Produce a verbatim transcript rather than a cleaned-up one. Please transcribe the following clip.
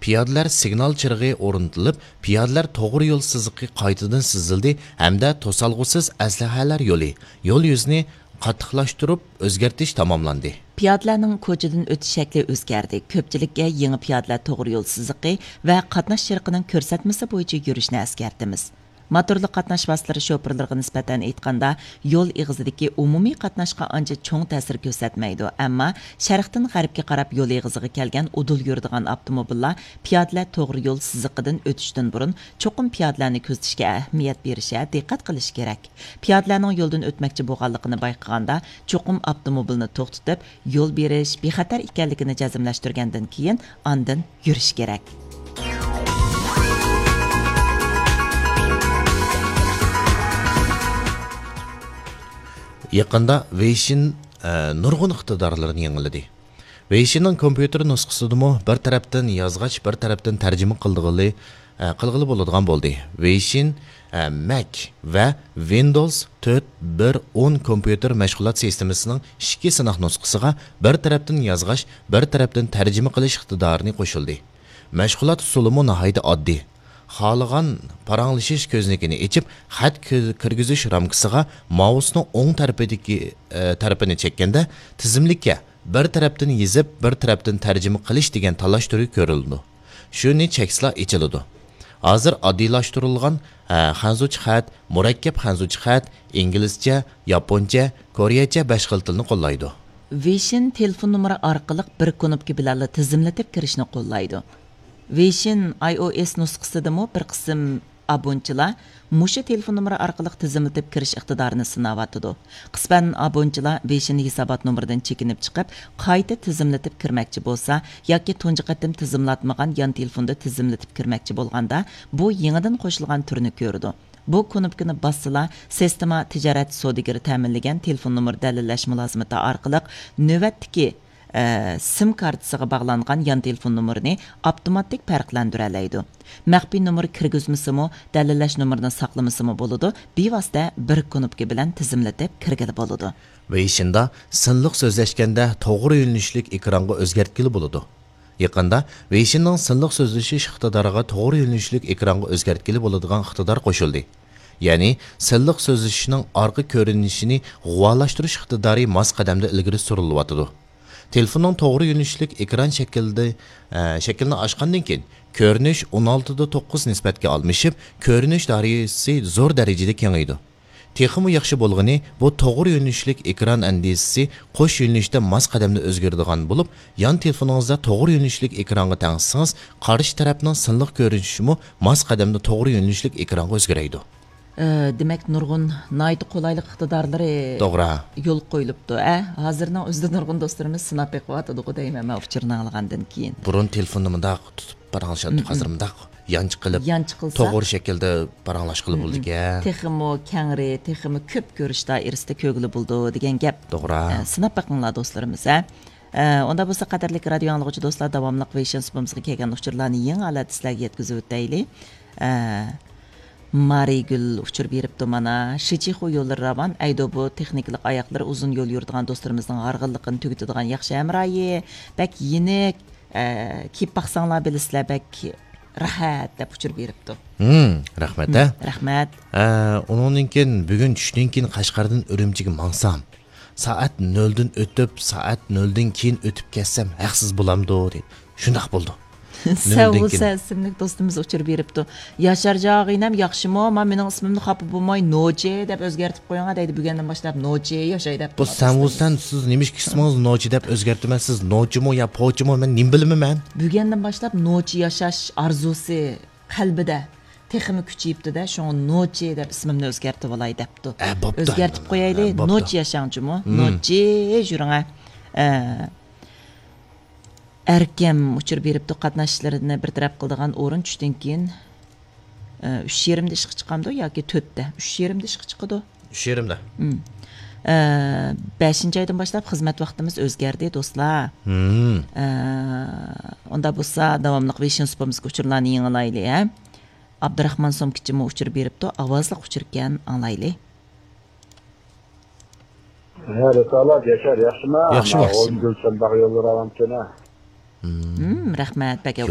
پىيادىلەر سىگنال چىرىغى ئورنىتىلىپ، پىيادىلەر توغرا يول سىزىقى قايتىدىن سىزىلدى ھەمدە توسالغۇسىز ئەسلىھەلەر يولى، يول يۈزىنى قاتتىقلاشتۇرۇپ ئۆزگەرتىش تاماملاندى. پىيادىلەرنىڭ كوچىدىن ئۆتۈش شەكلى ئۆزگەردى. كۆپچىلىككە يېڭى پىيادىلەر توغرا يول سىزىقى ۋە قاتناش چىرىقىنىڭ كۆرسەتمىسى بويىچە يۈرۈشنى ئەسكەرتىمىز. موتورلۇق قاتناش ۋاسىتىلىرى شوپۇرلىرىغا نىسبەتەن ئېيتقاندا، يول ئېغىزىدىكى ئومۇمىي قاتناشقا ئانچە چوڭ تەسىر كۆرسەتمەيدۇ، ئەمما شەرقتىن غەربكە قاراپ يول ئېغىزىغا كەلگەن ئۇدۇل يۈرىدىغان ئاپتوموبىللار پىيادىلەر توغرا يول سىزىقىدىن ئۆتۈشتىن بۇرۇن چوقۇم پىيادىلەرنى كۆزىتىشكە ئەھمىيەت بېرىشە دىققەت قىلىشى كېرەك. پىيادىلەرنىڭ يولدىن ئۆتمەكچى بولغانلىقىنى بايقىغاندا، چوقۇم ئاپتوموبىلنى توختىتىپ، يول بېرىش بىخەتەر ئىكەنلىكىنى جەزملەشتۈرگەندىن كېيىن، ئاندىن يۈرۈش كېرەك. يېقىندا ۋېيشىن، ئە، نۇرغۇن ئىقتىدارلىرىنى يېڭىلىدى. ۋېيشىننىڭ كومپيۇتېر نۇسخىسىدىمۇ بىر تەرەپتىن يازغاچ، بىر تەرەپتىن تەرجىمە قىلىدىغىلى، ئە، قىلغىلى بولىدىغان بولدى. ۋېيشىن، ئە، مەك ۋە ۋىندوز تۆت بىر ئون كومپيۇتېر مەشغۇلات سىستېمىسىنىڭ ئىككى سىناق نۇسخىسىغا بىر تەرەپتىن يازغاچ، بىر تەرەپتىن تەرجىمە قىلىش ئىقتىدارىنى قوشۇلدى. مەشغۇلات ئۇسۇلىمۇ ناھايىتى ئاددىي. خالىغان پاراڭلىشىش كۆزنىكىنى ئېچىپ، خەت كىر-، كىرگۈزۈش رامكىسىغا مائۇسنىڭ ئوڭ تەرىپىدىكى، ئە، تەرىپىنى چەككەندە، تىزىملىككە بىر تەرەپتىن يېزىپ، بىر تەرەپتىن تەرجىمە قىلىش دېگەن تاللاش تۈرى كۆرۈلىدۇ. شۇنى چەكسىلا ئېچىلىدۇ. ھازىر ئاددىيلاشتۇرۇلغان، ئە، خەنزۇچە خەت، مۇرەككەپ خەنزۇچە خەت، ئىنگلىزچە، ياپونچە، كورېيەچە بەش خىل تىلنى قوللايدۇ. ۋېيشىن تېلېفون نومۇرى ئارقىلىق بىر كۇنۇپكا بىلەنلا تىزىملىتىپ كىرىشنى قوللايدۇ. ۋېيشىن ئاي ئو ئېس نۇسخىسىدىمۇ بىر قىسىم ئابۇنىچىلار مۇشۇ تېلېفون نومۇرى ئارقىلىق تىزىملىتىپ كىرىش ئىقتىدارىنى سىناۋاتىدۇ. قىسمەن ئابۇنىچىلار ۋېيشىن ھېسابات نومۇرىدىن چېكىنىپ چىقىپ، قايتا تىزىملىتىپ كىرمەكچى بولسا ياكى تۇنجى قېتىم تىزىملاتمىغان يان تېلېفوندا تىزىملىتىپ كىرمەكچى بولغاندا، بۇ يېڭىدىن قوشۇلغان تۈرنى كۆرىدۇ. بۇ كۇنۇپكىنى باسسىلا، سىستېما تىجارەت سودىگىرى تەمىنلىگەن تېلېفون نومۇرى دەلىللەش مۇلازىمىتى ئارقىلىق نۆۋەتتىكى، ئە، سىم كارتىسىغا باغلانغان يان تېلېفون نومۇرىنى ئاپتوماتىك پەرقلەندۈرەلەيدۇ. مەخپىي نومۇر كىرگۈزمىسىمۇ، دەلىللەش نومۇرىنى ساقلىمىسىمۇ بولىدۇ، بىۋاسىتە بىر كۇنۇپكا بىلەن تىزىملىتىپ كىرگىلى بولىدۇ. ۋېيشىندا سىنلىق سۆزلەشكەندە توغرا يۆنىلىشلىك ئېكرانغا ئۆزگەرتكىلى بولىدۇ. يېقىندا ۋېيشىننىڭ سىنلىق سۆزلىشىش ئىقتىدارىغا توغرا يۆنىلىشلىك ئېكرانغا ئۆزگەرتكىلى بولىدىغان ئىقتىدار قوشۇلدى. يەنى سىنلىق سۆزلىشىشنىڭ ئارقا كۆرۈنۈشىنى غۇۋالاشتۇرۇش ئىقتىدارى ماس قەدەمدە ئىلگىرى سۈرۈلۈۋاتىدۇ. تېلېفوننىڭ توغرا يۆنىلىشلىك ئېكران شەكلىدە، ئە، شەكلىنى ئاچقاندىن كېيىن، كۆرۈنۈش ئون ئالتىدە توققۇز نىسبەتكە ئالمىشىپ، كۆرۈنۈش دائىرىسى زور دەرىجىدە كېڭىيىدۇ. تېخىمۇ ياخشى بولغىنى، بۇ توغرا يۆنىلىشلىك ئېكران ئەندىزىسى قوش يۆنىلىشتە ماس قەدەمدە ئۆزگىرىدىغان بولۇپ، يان تېلېفونىڭىزدا توغرا يۆنىلىشلىك ئېكرانغا تەڭشىسىڭىز، قارشى تەرەپنىڭ سىنلىق كۆرۈنۈشىمۇ ماس قەدەمدە توغرا يۆنىلىشلىك ئېكرانغا ئۆزگىرەيدۇ. ئە، دېمەك، نۇرغۇن ناھايىتى قولايلىق ئىقتىدارلىرى توغرا. يولغا قويۇلۇپتۇ. ئە، ھازىرنىڭ ئۆزىدە نۇرغۇن دوستلىرىمىز سىناپ بېقىۋاتىدىغۇ دەيمەن مەن ئۇچۇرنى ئاڭلىغاندىن كېيىن. بۇرۇن تېلېفوننى مۇنداق تۇتۇپ پاراڭلىشاتتۇق، ھازىر مۇنداق يانچە قىلىپ، يانچە قىلسا، توغرا شەكىلدە پاراڭلاشقىلى بولىدىكەن. تېخىمۇ كەڭرى، تېخىمۇ كۆپ كۆرۈش دائىرىسىدە كۆرگىلى بولىدۇ دېگەن گەپ. توغرا. ئە، سىناپ بېقىڭلار دوستلىرىمىز، ھە. ئە، ئۇندا بولسا قەدىرلىك رادىيو ئاڭلىغۇچى دوستلار، داۋاملىق ۋېيشىن سۇپىمىزغا كەلگەن ئۇچۇرلارنى يېڭى ھالەتتە سىلەرگە يەتكۈزۈۋېتەيلى. ئە، مارىگۈل ئۇچۇر بېرىپتۇ مانا. شىچىخۇ يوللىرى راۋان، ئەيدو بۇ تېخنىكىلىق ئاياقلىرى ئۇزۇن يول يۈرىدىغان دوستلىرىمىزنىڭ ھارغىنلىقىنى تۈگىتىدىغان ياخشى ھەمراھى. بەك يېنىك، ئە، كىيىپ باقساڭلار بىلىسىلەر، بەك راھەت دەپ ئۇچۇر بېرىپتۇ. ھىم، رەھمەت، ھە؟ رەھمەت. ئە، ئۇنىڭدىن كېيىن، بۈگۈن چۈشتىن كېيىن قەشقەردىن ئۈرۈمچىگە ماڭسام، سائەت نۆلدىن ئۆتۈپ، سائەت نۆلدىن كېيىن ئۆتۈپ كەتسەم ھەقسىز بولامدۇ؟ دېدى. شۇنداق بولدى. نۆلدىن كېيىن. سەۋۇسەن ئىسىملىك دوستىمىز ئۇچۇر بېرىپتۇ. ياشار جاغىنەم ياخشىمۇ؟ ما مېنىڭ ئىسمىمنى خاپا بولماي نوچى دەپ ئۆزگەرتىپ قويۇڭا دەيدۇ. بۈگۈندىن باشلاپ نوچى ياشاي دەپ. بۇ سەۋۇسەن، سىز نېمىشقا ئىسمىڭىزنى نوچى دەپ ئۆزگەرتىمەن؟ سىز نوچىمۇ يا پوچىمۇ؟ مەن نېمە بىلىمەن مەن؟ بۈگۈندىن باشلاپ نوچى ياشاش ئارزۇسى قەلبىدە تېخىمۇ كۈچىيىپتۇ-دە، شۇڭا نوچى دەپ ئىسمىمنى ئۆزگەرتىۋالاي دەپتۇ. ئە، بوپتۇ. ئۆزگەرتىپ قويايلى، ئە، بوپتۇ. نوچى ياشاڭ جۇمۇ، مم. نوچى يۈرۈڭە. ئە، ئەركەم ئۇچۇر بېرىپتۇ، قاتناشلىرىنى بىر تەرەپ قىلىدىغان ئورۇن چۈشتىن كېيىن، ئە، ئۈچ يېرىمدە ئىشقا چىقامدۇ ياكى تۆتتە؟ ئۈچ يېرىمدە ئىشقا چىقىدۇ. ئۈچ يېرىمدە. مم. ئە، بەشىنچى ئايدىن باشلاپ خىزمەت ۋاقتىمىز ئۆزگەردى، دوستلار. مم. ئە، ئۇندا بولسا داۋاملىق ۋېيشىن سۇپىمىزغا ئۇچۇرلارنى يېڭىلايلى، ھە. ئابدۇراخمان سومكىچىمۇ ئۇچۇر بېرىپتۇ، ئاۋازلىق ئۇچۇركەن، ئاڭلايلى. ھە، رىسالەت، ياشار، ياخشىما؟ ياخشى، ياخشى. گۈلشەن باغ يوللىرى ئاۋامكەن، ھە؟ مم، رەھمەت، بەك ياخشى.